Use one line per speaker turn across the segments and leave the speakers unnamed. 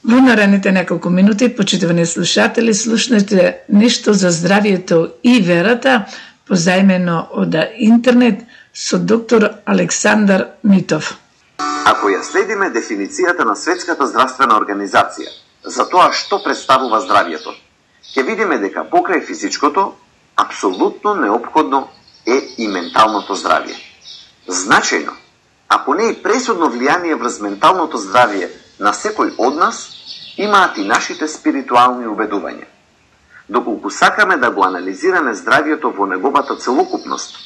Во наредните неколку минути, почитувани слушатели, слушнете нешто за здравието и верата, позајмено од интернет со доктор Александар Митов.
Ако ја следиме дефиницијата на Светската здравствена организација за тоа што представува здравието, ќе видиме дека покрај физичкото, апсолутно неопходно е и менталното здравие. Значајно, ако не и пресудно влијание врз менталното здравие на секој од нас, имаат и нашите спиритуални убедувања. Доколку сакаме да го анализираме здравието во неговата целокупност,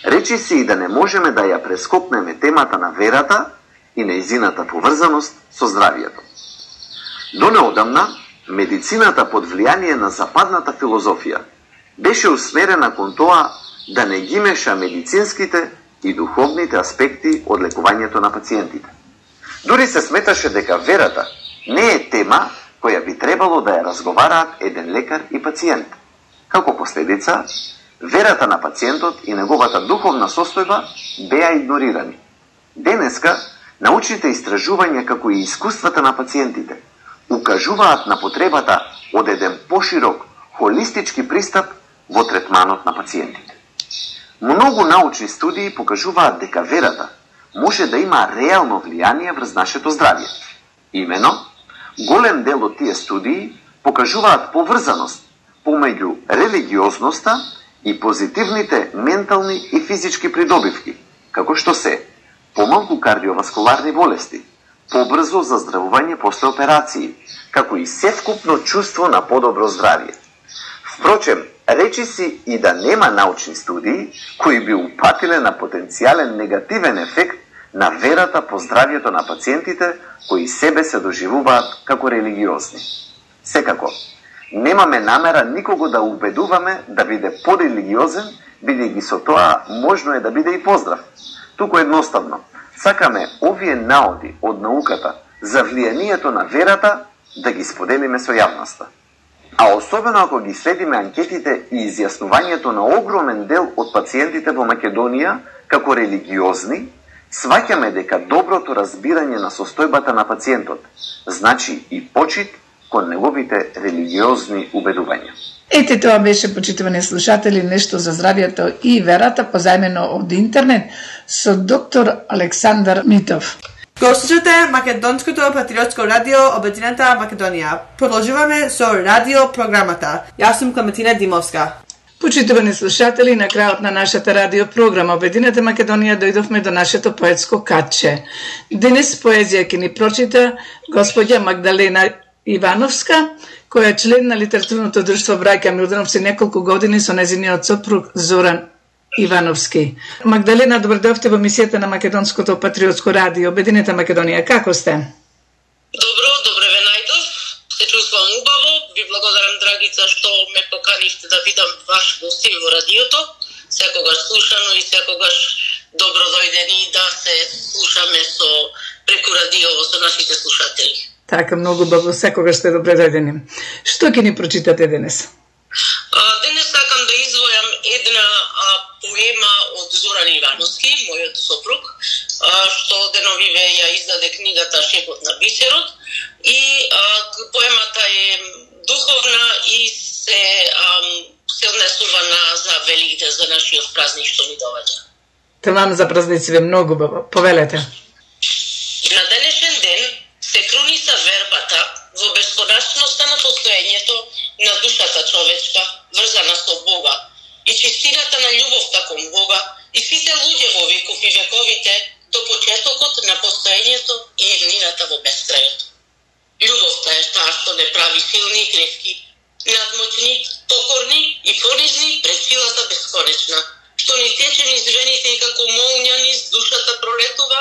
речи се и да не можеме да ја прескокнеме темата на верата и нејзината поврзаност со здравието. До неодамна, медицината под влијание на западната филозофија беше усмерена кон тоа да не ги меша медицинските и духовните аспекти од лекувањето на пациентите. Дури се сметаше дека верата не е тема која би требало да ја разговараат еден лекар и пациент. Како последица, верата на пациентот и неговата духовна состојба беа игнорирани. Денеска, научните истражувања како и искуствата на пациентите укажуваат на потребата од еден поширок, холистички пристап во третманот на пациентите. Многу научни студии покажуваат дека верата може да има реално влијание врз нашето здравје. Имено, голем дел од тие студии покажуваат поврзаност помеѓу религиозноста и позитивните ментални и физички придобивки, како што се помалку кардиоваскуларни болести, побрзо заздравување после операции, како и севкупно чувство на подобро здравје. Впрочем, речи си и да нема научни студии кои би упатиле на потенцијален негативен ефект на верата по здравјето на пациентите кои себе се доживуваат како религиозни. Секако, немаме намера никого да убедуваме да биде порелигиозен, бидејќи со тоа можно е да биде и поздрав. Туку едноставно, сакаме овие наоди од науката за влијанието на верата да ги споделиме со јавноста. А особено ако ги следиме анкетите и изјаснувањето на огромен дел од пациентите во Македонија како религиозни, сваќаме дека доброто разбирање на состојбата на пациентот значи и почит кон неговите религиозни убедувања.
Ете, тоа беше, почитувани слушатели, нешто за здравието и верата, позајмено од интернет, со доктор Александар Митов.
Го слушате Македонското патриотско радио Обединета Македонија. Продолжуваме со радио програмата. Јас сум Клементина Димовска.
Почитувани слушатели, на крајот на нашата радио програма Обединета Македонија дојдовме до нашето поетско катче. Денес поезија ќе ни прочита господја Магдалена Ивановска, која е член на литературното друштво Браќа Милдановци неколку години со нејзиниот сопруг Зоран Ивановски. Магдалена, добро дојдовте во емисијата на Македонското патриотско радио Обединета Македонија. Како сте?
Добре ве најдов. Се чувствувам убаво. Ви благодарам, драгица, што ме поканивте да бидам ваш гостин во радиото. Секогаш слушано и секогаш добро дојдени да се слушаме преку радиово со нашите слушатели.
Така, многу убаво, секогаш сте добре дојдени. Што ќе ни прочитате денес?
Денес сакам да извојам една поема од Зоран Ивановски, мојот сопруг, што деновиве ја издаде книгата Шепот на бисерот, и поемата е духовна и се однесува за великите, за нашиот празник што ни доаѓа.
Тамам за празниците, многу убаво. Повелете.
На денешен ден се круниса вербата во бесконечноста на постоењето на душата човечка, врзана со Бога, и чистината на љубовта кон Бога, и сите луѓе во веков и вековите до почетокот на постоењето и еднината во бескрајот. Љубовта е таа што не прави силни и кревки, надмоćни, покорни и понизни пред силата бесконечна, што ни тече низ вените и како молња низ душата пролетува